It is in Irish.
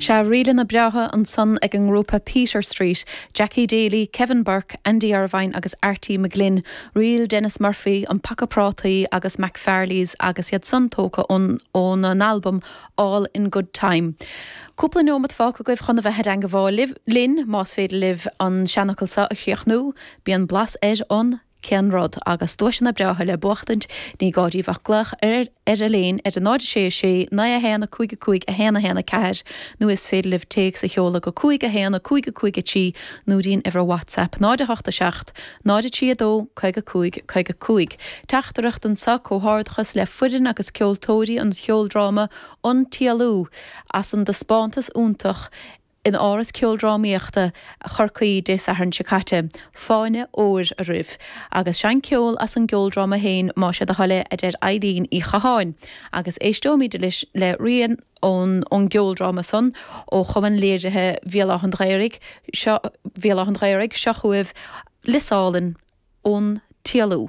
Sea, ríleanna breátha ansan ag an ngrúpa Peter Street, Jackie Daly, Kevin Burke, Andy Irvine agus Arty McGlynn, Ríl Denis Murphy, An Paca Prátaí agus McFarley's agus iad san tógtha óna n-albam All in Good Time. Cúpla neomat fágtha agaibh chun a bheith i dteangabháil linn, más féidir libh an seanfhocal seo a chríochnú, bíonn blas ar an. Cén rud? Agus duaiseanna breátha le buachtaint, ní gá daoibh ach glaoch ar ar Elaine ar 0 6 6 9 1 5 5 1 1 4 nó is féidir libh téacs a sheoladh go 5 1 5 5 3 nó dtí'n uimhir WhatsApp 0 8 7 0 3 2 55 55. Teachtaireacht anseo, Comhghairdeachas le foireann agus ceoltóirí an cheoldráma An tÉalú as an dtaispeántas iontach in Áras Ceoldrámaíochta Chorcaí Dé Sathairn seo caite. Fáinne óir oraibh. Agus seinn ceol as an gceoldráma féin más é do thoil é, a deir Eileen Uí Chatháin. Agus éisteoimid anois le rian ón ón gceoldráma san ó Chumann Léirithe Bhéal Átha an Ghaorthaidh, seo Bhéal Átha an Ghaorthaidh, seo chugaibh Lios Álainn ón tÉalú.